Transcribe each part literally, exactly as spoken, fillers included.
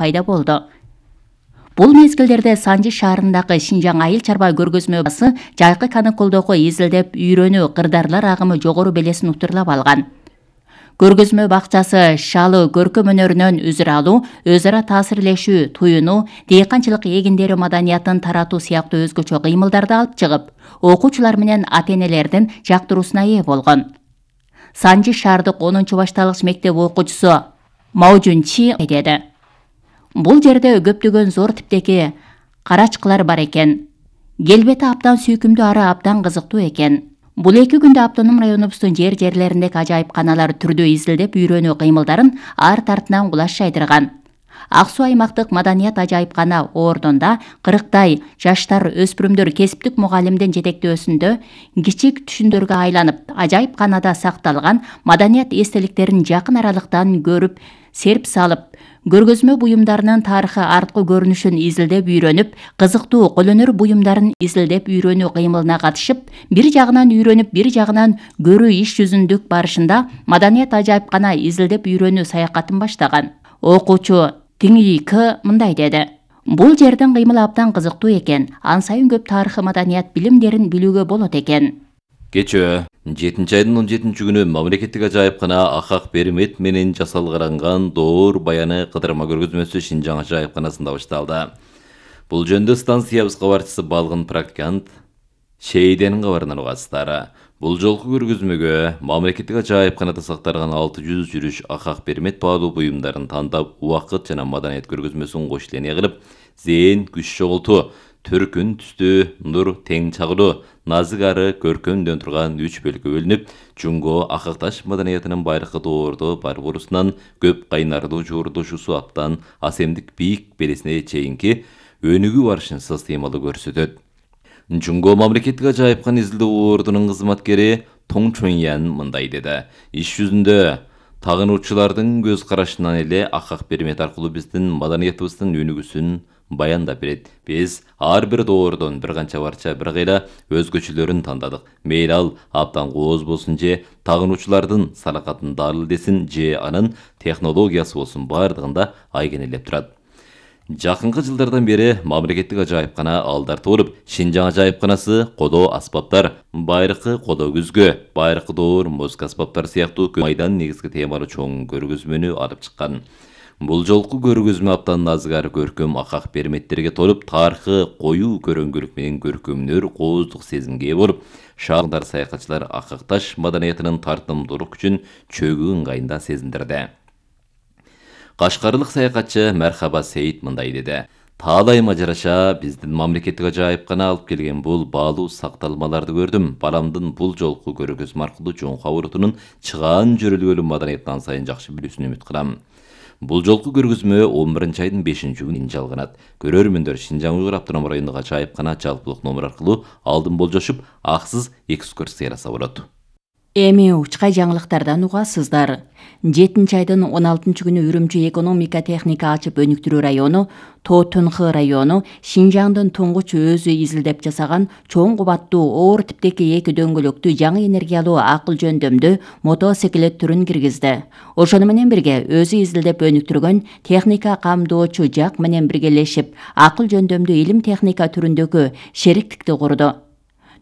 пайда болду. Бул мезгилдерде Санжы шаарындагы Шинжаң айыл чарба көргөзмө басы жайкы каникулдогу изилдеп үйрөнүү кырдаарлар агымы жогору белесин утурлап алган. Көргөзмө бакчасы шалы көркөм өнөрүнөн үзүр алуу, өз ара таасирлешүү, туюнуу, дыйканчылык эгиндери маданиятын таратуу сыяктуу өзгөчө кыймылдарды алып чыгып, окуучулар менен ата-энелердин жактыруусуна ээ болгон. Санжы шаардык онунчу башталгыч мектеп окуучусу Маужун Чи деди: Бул жерде көптөгөн зор типтеги карачкылар бар экен. Келбети абдан сүйкүмдүү, ары абдан кызыктуу экен. Бул эки күндө автоном районубуздун жер-жерлериндеги ажайыпканалар түрдүү изилдеп үйрөнүү кыймылдарын арт артынан кулаш жайдырган. Ак Суу аймактык маданият ажайыпкана ордунда кырктай жаштар, өспүрүмдөр кесиптик мугалимдин жетектөөсүндө кичик түшүндөргө айланып, ажайыпканада сакталган маданият эстеликтерин жакын аралыктан көрүп, серп салып, көргөзмө буюмдарынын тарыхы, арткы көрүнүшүн изилдеп үйрөнүп, кызыктуу колөнөр буюмдарын изилдеп үйрөнүү кыймылына катышып, бир жагынан үйрөнүп, бир жагынан көрүү иш жүзүндүк барышында маданият ажайыпкана изилдеп үйрөнүү саякатын баштаган. Окуучу Тиңийкы мындай деди: Бул жердин кыймылы абдан кызыктуу экен. Ан сайын көп тарыхы маданият билимдерин билүүгө болот экен. Кечөө жетинчи айдын он жетинчи күнү мамлекеттик ажайыпкана Акак Бермет менен жасалган доор баяны кыдырма көргөзмөсү Шинжаң ажайыпканасында башталды. Бул жөнүндө станциябыз кабарчысы балгын практикант Шейденин кабарынан угасыздар. Бул жолку көргөзмөгө мамлекеттик ажайыпканада сакталган алты жүз жүрүш Акак Бермет баалуу буюмдарын тандап, убакыт жана маданият көргөзмөсүн кош илене кылып, зээн күч чогултуу, төркүн түстүү, нур тең чагылуу, назык ары көркөмдөн турган үч бөлүккө бөлүнүп, Жунго Акакташ маданиятынын байыркы доордо бар борусунан көп кайнардуу жуурдушусу аптан асемдик бийик белесине чейинки өнүгүү барышынсыз темалуу көрсөтөт. Жунго мамлекеттик ажайыпкана изилдөө ордунун кызматкери Тоң Чоңян мындай деди: Иш жүзүндө тагынуучулардын көз карашынан эле Акак Бермет аркылуу биздин маданиятыбыздын өнүгүүсүн баяндап берет. Биз ар бир доордон бир канча барча бир кыйла өзгөчөлөрүн тандадык. Мейли ал абдан кооз болсун же тагынуучулардын салакатын дарыл десин же анын технологиясы болсун, бардыгында айгенелеп турат. Жакынкы жылдардан бери мамлекеттик ажайыпкана алдарты болуп, Шинжаң ажайыпканасы кодоо аспаптар, байыркы кодоо күзгө, байыркы доор музыка аспаптары сыяктуу майдан негизги темалуу чоң көргөзмөнү алып чыккан. Бул жолку көргөзмө аптан назык ары көркөм Акак Берметтерге толуп, тарыхы коюу көрөңгүлүк менен көркөмдөр кооздук сезимге ээ болуп, шаардар саякатчылар Акакташ маданиятынын тартымдуулук күчүн чөгүү ыңгайында сезиндирди. Кашкарлык саякатчы Мархаба Сейит мындай деди: Таалайыма жараша биздин мамлекеттик ажайыпкана алып келген бул баалуу сакталмаларды көрдүм. Баламдын бул жолку көргөзмө аркылуу жоңку абурутунун чыгаан жөрөлгөлүү маданиятын сайын жакшы билүүсүн үмүт кылам. Бул жолку көргөзмө он биринчи айдын бешинчи күнү жалганат. Көрөрмөндөр Шинжаң Уйгур автоном райондук ажайыпкана жалпылык номер аркылуу алдын болжошуп, аксыз экскурсия жасап болот. Эми учкай жаңылыктардан угасыздар. жетинчи айдын он алтынчы күнү Үрүмчү экономика техника ачып өнүктүрүү району, Тоо Төнхы району Шинжаңдын туңгуч өзү изилдеп жасаган чоң кубаттуу оор типтеги эки дөңгөлөктүү жаңы энергиялуу акыл жөндөмдүү мотоциклет түрүн киргизди. Ошону менен бирге өзү изилдеп өнүктүргөн техника камдоочу жак менен биргелешип, акыл жөндөмдүү илим техника түрүндөгү шериктикти курду.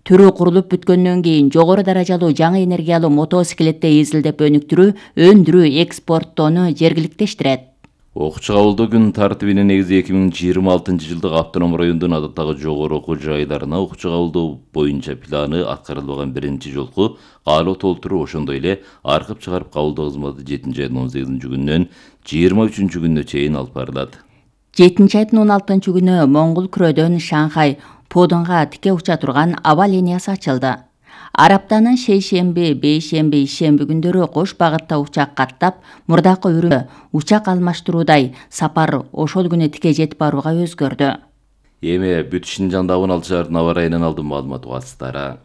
Түрү курулуп бүткөндөн кийин жогору даражалуу жаңы энергиялуу мотоциклетти изилдеп өнүктүрүү, өндүрүү, экспорттоону жергиликтештирет. Окуучу кабылдоо күн тартибине негизи эки миң жыйырма алтынчы жылдык автоном райондун адаттагы жогору окуу жайларына окуучу кабылдоо боюнча планы аткарылбаган биринчи жолку каалоо толтуруу, ошондой эле аркып чыгарып кабылдоо кызматы жетинчи айдын он сегизинчи күнүнөн жыйырма үчүнчү күнүнө чейин алып барылат. жетинчи айдын он алтынчы күнү Моңгол күрөдөн Шанхай Подонга тике уча турган аба линиясы ачылды. Араптанын шейшемби, бейшемби, ишемби күндөрү кош багытта учак каттап, мурдакы үрүмө учак алмаштыруудай сапар ошол күнү тике жетип барууга өзгөрдү. Эми бүт Шинжаңда абын алчылардын аба ырайынан алдын маалымат угасыздар.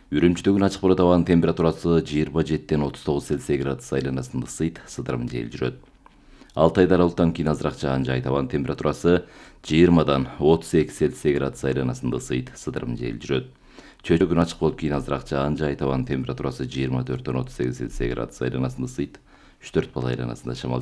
Үрүмчүдөгү ачык болот, абанын температурасы жыйырма жетиден отуз тогуз Цельсий градус айланасында ысыйт, сыдырым жел жүрөт. алты айда аралыктан кийин азыраак жаан жайт, абанын температурасы жыйырмадан отуз эки Цельсий градус айланасында ысыйт, сыдырым жел жүрөт. Чөйрө күн ачык болуп, кийин азыраак жаан жайт, абанын температурасы жыйырма төрттөн отуз сегиз Цельсий градус айланасында ысыйт, үч төрт балл айланасында шамал